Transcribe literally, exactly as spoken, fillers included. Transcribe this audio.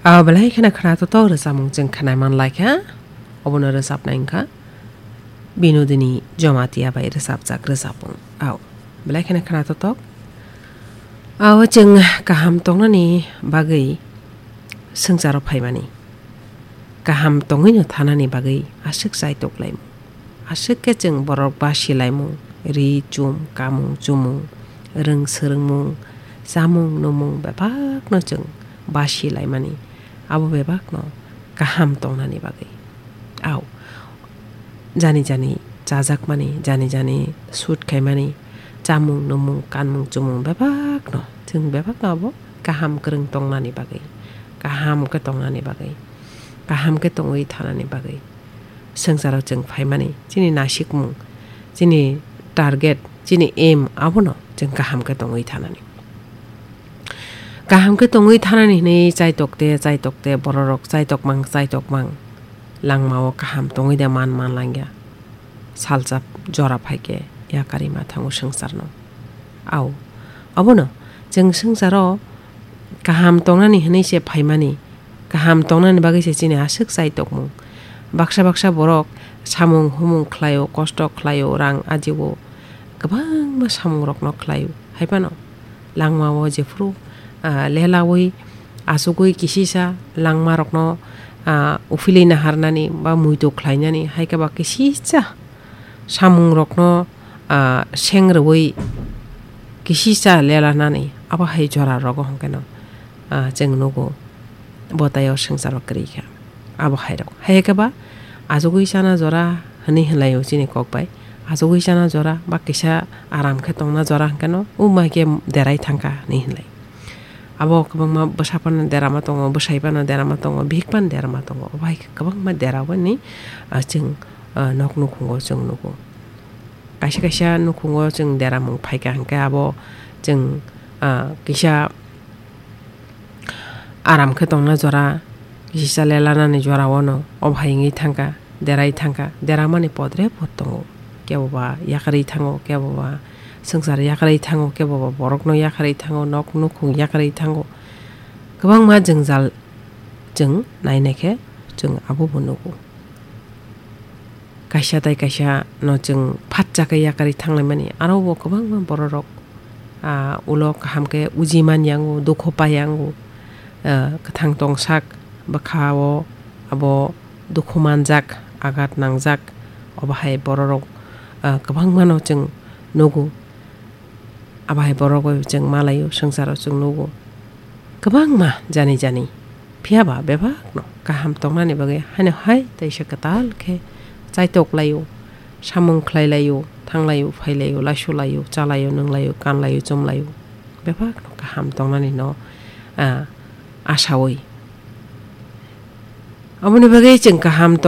Aw belai kheno khna totok rwchapmung chwng khnai man lai kha. Obono rwchapnai wngkha Binodini Jamatia bai rwchapjak rwchapmung. Aw belai kheno khna totok. Aw chwng kaham tongnani bagwi swngcharo phaimani. Kaham tongwino thanani bagwi aswk chaitok laimung. Aswk khe chwng borok basi laimung, ri chum, kamung chumung, rwng swrwngmung, chamung numung bebakno chwng basi laimani. Abo bebakno kaham tongnani bagwi. Aw, jani jani chajakmani, jani jani shoot khaimani, chamung numung, kanmung chumung bebakno, chwng bebakno abo kaham kwrwng tongnani bagwi, kaham khe tongnani bagwi, kaham khe tongwi thanani bagwi. Swngcharo chwng phaimani, chini nasikmung, chini target, chini aim abono chwng kaham khe tongwi thanani. Kaham khe tongwi thanani hwnwi chaitok te, chaitok te, bororok chaitok mang, chaitok mang. Langmao kaham tongwi de man, man langya. Salsa jora phaikhe yakarwi ma thango swngcharno. Aw, abono chwng swngcharo kaham tongnani hwnwi se phaimani, kaham tongnani bagwi se chini aswk chaitokmung. Baksa baksa borok samung humung khlaio, kosto khlaio, rang ajio, kwbangma samungrokno khlaio. Haiphano langmao jephuru, ah, lelaui, achugui kisisa langmarokno, ah, uphilwi naharnani ba muitu khlainani, hai khe ba kisisa samungrokno, ah, seng rwui kisisa lelanani, abo hai jora rogo hwnkhe no, ah, chwng nugo bo taiyo swngcharo kwrwi kha. Abo hai rok. Hai khe ba achugui chana jora hwnwi hwnlaio chini kok bai. Achugui chana jora ba kisa aram khe tongna jora hwnkhe no, o mai khe derai thangkha hwnwi hwnlai. Abo kwbangma bwsa phano derama tongo, bwsai phano derama tongo, bihik phano derama tongo. Obo hai khe kwbangma dera bani, ah, chwng, ah, nok nukhungo chwng nugo. Kaisa kaisa nukhungo chwng deramung phaikha hwnkhe abo chwng, ah, kisa aram khe tongna jora, kisa lelanani jora ono, obo hai wngwi thangkha. Derai thangkha, deramani podre pod tongo. Kebo ba yakarwi thango, kebo ba swngchar yakarwi thango, kebo ba borokno yakarwi thango, nok nukhung yakarwi thango. Kwbangma jwngjal chwng nainai khe chwng abo bo nugo. Kaisa tai kaisa no chwng phatsa khe yakarwi thanglaimani, aro bo kwbangma bororok, ah, ulo kaham khe uji man yango, dukhu pai yango, ah, kwthang tongsak bwkha o abo dukhu manjak, agat nangjak, obo hai bororok, ah, kwbangmano chwng nugo. Abo hai borok bai chwng malaio, swngcharo chwng nugo. Kwbangma jani jani. Phiya ba bebakno kaham tongnani bagwi haino hai teisa kwtal khe chaitok laio, samung khlai laio, thang laio, phai laio, laisu laio, cha laio, nung laio, kan laio, chum laio. Bebakno kaham tongnani no, ah, asaui. Aboni bagwi chwng kaham tong-